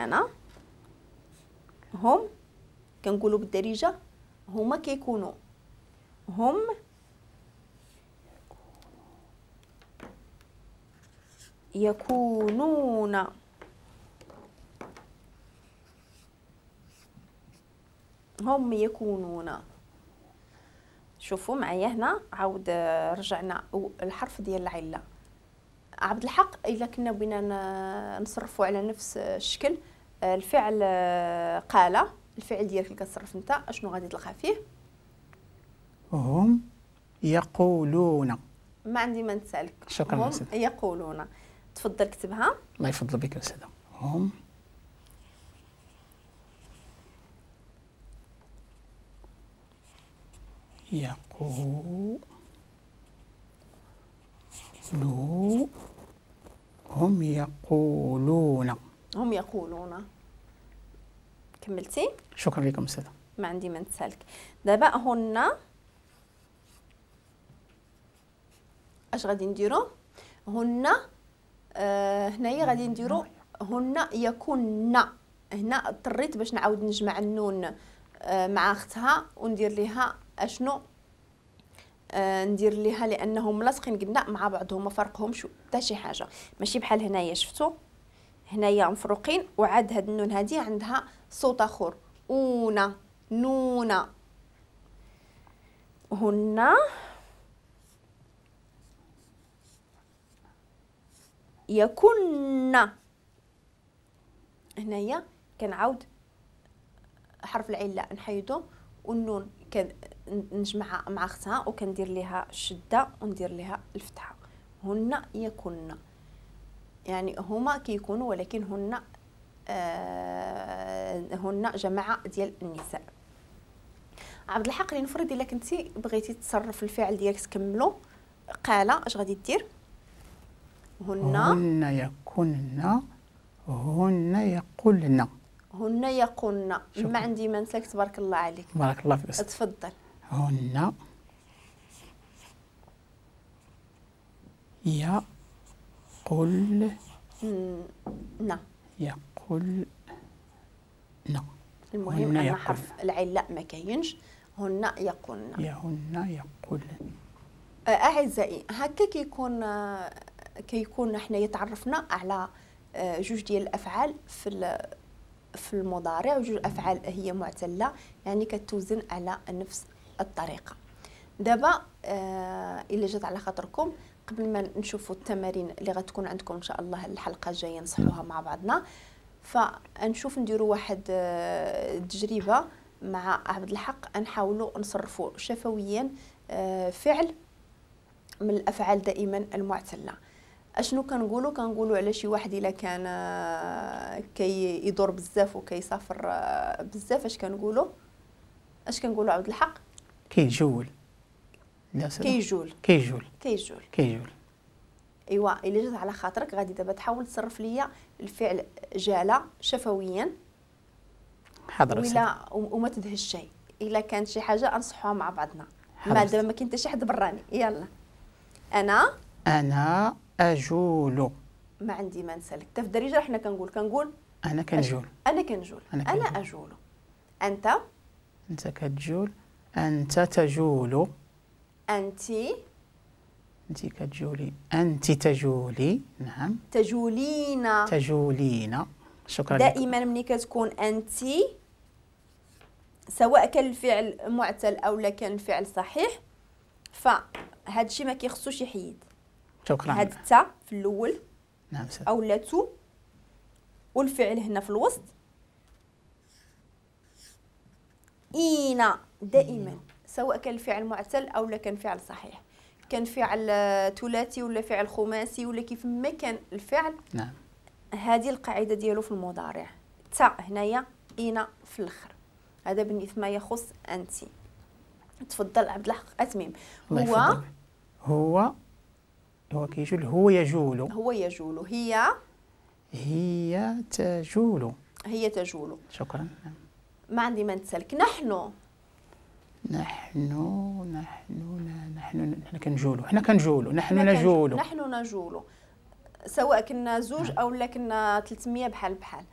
كان. هم كنقولوا بالدارجة هما كيكونوا، هم يكونون. هم يكونون. شوفوا معايا هنا عاود رجعنا الحرف ديال العلة. عبد الحق الا كنا بغينا نصرفوا على نفس الشكل الفعل قال، الفعل ديالك اللي كتصرف انت اشنو غادي تلقى فيه؟ هم يقولون. ما عندي ما نسالك. شكرا. هم يقولون. تفضل كتبها. الله يفضل بك استاذه. هم يقولون، هم يقولون. هم يقولون. كملتي؟ شكرا لكم استاذه. ما عندي ما نتسالك. دابا هن اش غادي نديرو؟ هن هنايا غادي نديرو هن يكن. هنا اضطريت باش نعاود نجمع النون مع اختها وندير ليها اشنو؟ ندير ليها لانهم لاصقين قلنا مع بعضهم ما فرقهمش حتى شي حاجة، ماشي بحال هنايا. شفتوا هنايا مفروقين وعاد هاد النون هادي عندها صوت اخر، اونا نونا. هن يكن. هنايا كنعاود حرف العلة نحيدو والنون كنجمعها مع اختها وكندير ليها الشدة وندير ليها الفتحة. هن يكن، يعني هما كيكونوا ولكن هن هن جماعة ديال النساء. عبد الحق لنفرض الا كنتي بغيتي تصرف الفعل ديالك تكملو قال، اش غادي دير؟ هن هن يكن، هن يقولن. هن يقولن. ما عندي ما نسالك. تبارك الله عليك. بارك الله فيك. تفضل. هن يقول نا. يقول نا. المهم ان حرف العلة ما كاينش. هن يقولن. هن يقولن. اعزائي هكا كيكون حنايا تعرفنا على جوج ديال الافعال في المضارع، وجوج افعال هي معتله يعني كتوزن على نفس الطريقة. دابا الا جات على خاطركم قبل ما نشوفوا التمارين اللي غتكون عندكم ان شاء الله الحلقة الجاية نصحوها مع بعضنا، فنشوف نديروا واحد التجربة مع عبد الحق، نحاولوا نصرفوا شفويا فعل من الافعال دائما المعتله. اشنو كنقولوا؟ كنقولوا على شي واحد الا كان كيدور بزاف وكيسافر بزاف، اش كنقولوا؟ اش كنقولوا عبد الحق؟ كيجول. كيجول. كيجول. كيجول. كيجول. ايوا الا جات على خاطرك غادي دابا تحاول تصرف ليا الفعل جاله شفويا. حاضر. ولا وما تدهش شيء، الا كانت شي حاجة انصحوها مع بعضنا. ما دابا ما كاين حتى شي حد براني. يلا. انا اجول. ما عندي ما نسالك. حتى في الدارجة حنا كنقول انا كنجول. انا كنجول. انا اجول. انت كتجول. انت تجول. انت كتجولي. انت تجولي. نعم. تجولين. تجولين. شكرا. دائما ملي كتكون انت سواء كان الفعل معتل او لا كان الفعل صحيح، فهاد الشيء ما كيخصوش يحيد. شكرا. هاد التا في الاول. نعم. او لا تو، والفعل هنا في الوسط اينا دائما، سواء كان الفعل معتل او لا كان فعل صحيح، كان فعل ثلاثي ولا فعل خماسي ولا كيف ما كان الفعل. نعم. هذه القاعدة ديالو في المضارع، تا هنايا اينا في الاخر. هذا بالنسبة ما يخص انت. تفضل عبد الحق اتميم. هو هو هو كيجول. هو يجول. هو يجول. هي هي تجول. هي تجول. شكرا. ما عندي ما نتسالك. نحن نحن نحن نحن نحن كنجولو. حنا كنجولو. نحن نجولو. نحن نجولو، سواء كنا زوج او لا كنا 300 بحال بحال.